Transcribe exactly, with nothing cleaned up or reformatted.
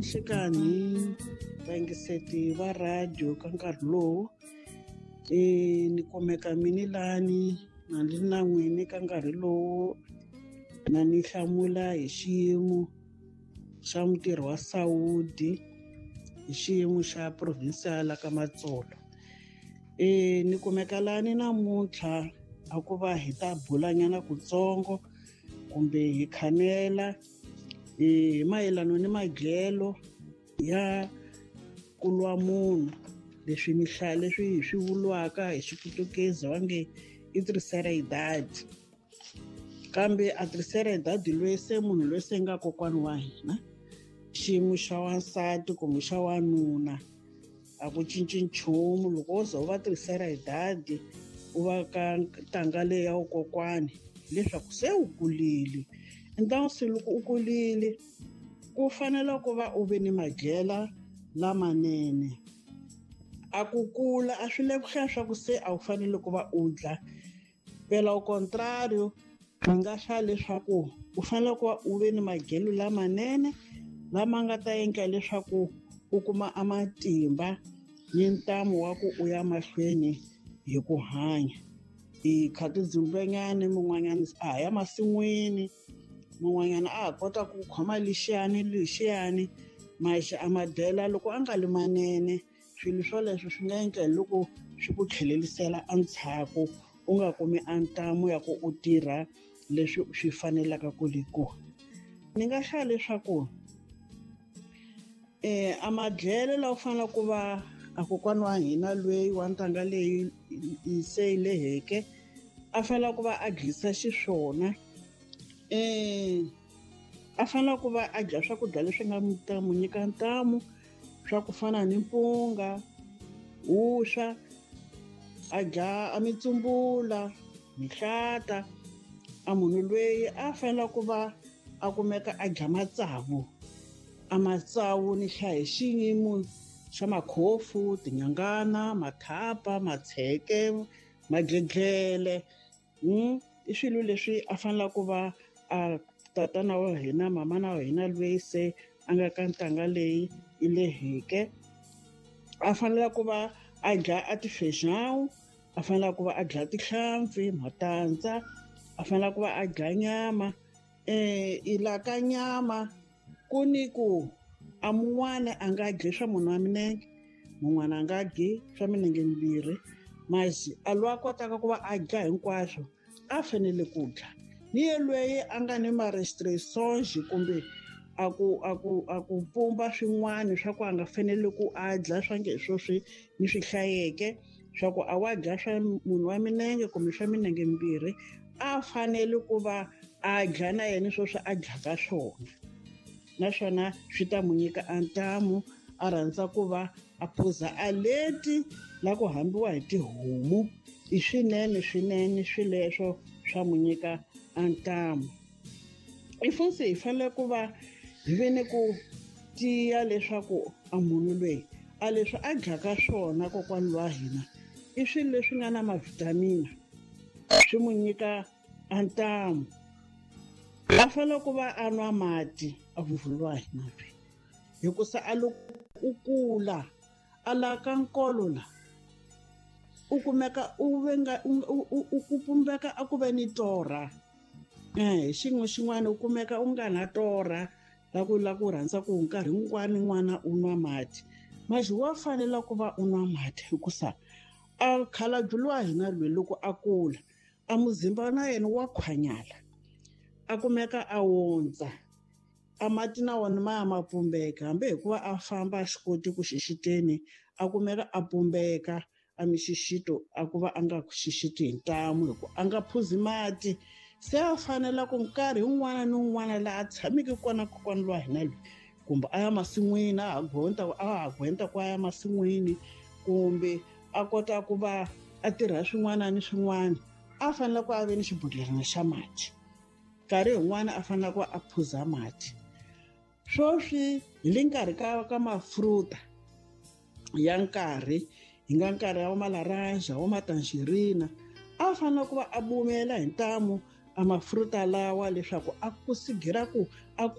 Ni nhlekani vayingiseti va radio ka nkarhi lowu e ni kumeka mini lani na ni na n'wini ka nkarhi lowu na ni hlamula hi xiyimo xa mutirhi wa Saudi hi xiyimo xa provincial ka Matsolo. E ni kumeka lani namuntlha a ku va hi ta bulanyana kutsongo kumbe hi khamela hi mayelana ni madyelo ya ku lwa munhu leswi ni hlaya leswi hi swi vuriwaka hi Xiputukezi va nge i terceira idade. Kambe a terceira idade loyi se munhu loyi se nga kokwana wa hina xiyimo xa wansati kumbe xa wanuna a ku cinci nchumu. Loko wo za u va terceira idade u va ka ntanga leyi ya vukokwani hileswaku se u kulile. Então se loko u kulile ku fanele ku va u ve ni madyela lamanene. A ku kula a swi le ku hlaya swa ku se a wu fanele ku va u dla. Phela au contrario ni nga hlaya leswaku u fanele ku va u ve ni madyelo lamanene lama nga ta endla leswaku u kuma a matimba ni ntamu wa ku u ya mahlweni hi ku hanya. Hi kha tidzumbenyana mun'wanyana a ha ya masin'wini, mun'wanyana a ha kota ku khoma lexiyani lexiyani maxi a madyela loko a nga li manene swilo swoleswo swi nga endla hi loko swi ku tlhelerisela endzhaku u nga kumi a ntamu ya ku u tirha leswi swi fanelaka ku le kona. Ni nga hlaya leswaku eh a madyelo lawa u fanele ku va a kokwana wa hina loyi wa ntanga leyi se yi leheke a fanele ku va a dyisa xiswona eh a fanele ku va a dya swakudya leswi nga ta mu nyika ntamu swa ku fana ni mpunga, vuswa, a dya a mitsumbula, mihlata. A munhu loyi a fanele ku va a kumeka a dya matsavu. A matsavu ni hlaya hi xiyimo xa makhofu, tinyangana, mathapa, matsheke, madlidlele. I swilo leswi a fanele ku va a tatana wa hina, mamana wa hina loyi se a nga ka ntanga leyi yi leheke a fanele ku va a dya a ti-feijão, a fanele ku va a dya tihlampfi, matandza, a fanele ku va a dya nyama. Eh i la ka nyama ku ni ku a mun'wana a nga dyi swa munhu wa minenge, mun'wana a nga dyi swa minenge mimbirhi, masi a loyi a kotaka ku va a dya hinkwaswo a fanele ku dya. Ni ye loyi a nga ni ma-restrictions kumbe a ku a ku a ku pumba swin'wana swa ku a nga fanele ku a dya swa nge swo swi ni swi hlayeke swa ku a wa dya swa munhu wa minenge kumbe swa minenge mimbirhi a fanele ku va a dya na yena sweswi a dyaka swona, naswona swi ta mu nyika a ntamu. A rhandza ku va a phuza a leti la ku hambiwa hi tihomu i swinene swinene swileswo swa mu nyika a ntamu. I funtsi hi fanele ku va hi ve ni ku tiya leswaku a munhu loyi a leswi a dyaka swona kokwana wa hina i swilo leswi nga na mavhitamini swi mu nyika a ntamu. A fanele ku va a nwa mati a vuvulwa hina loyi hikusa a loko u kula a la ka nkolo la u kumeka u venga u u pumbeka a ku ve ni torha. Eh xin'we xin'wana u kumeka u nga na torha la ku la ku rhandza ku nkarhi wun'wani n'wana u nwa mati. Masi wa fanela ku va u nwa mati hikusa a khalabye lowa hina loyi loko a kula a muzimba na yena wa khwanyala a kumeka a wondza a mati na wona ma ya ma pumbeka hambi hikuva a famba a swi koti ku xixiteni a kumeka a pumbeka a mixixito a ku va a nga xixiti hi ntamu hi ku a nga phuzi mati. Se a fanela ku nkarhi wun'wana ni wun'wana laha a tshameke kona kokwana lowa hina loyi kumbe a ya masin'wini a ha gwenta a ha gwenta ku a ya masin'wini kumbe a kota ku va a tirha swin'wana ni swin'wana a fanele ku a ve ni xibodhlelana xa mati. Nkarhi wun'wana a fanele ku a phuza mati. Sweswi hi le nkarhi ka ka mafruta ya nkarhi hi nga nkarhi wa malaranja wa matangerina a fanele ku va a bumela hi ntamu a mafruta lawa leswaku a kusigira ku a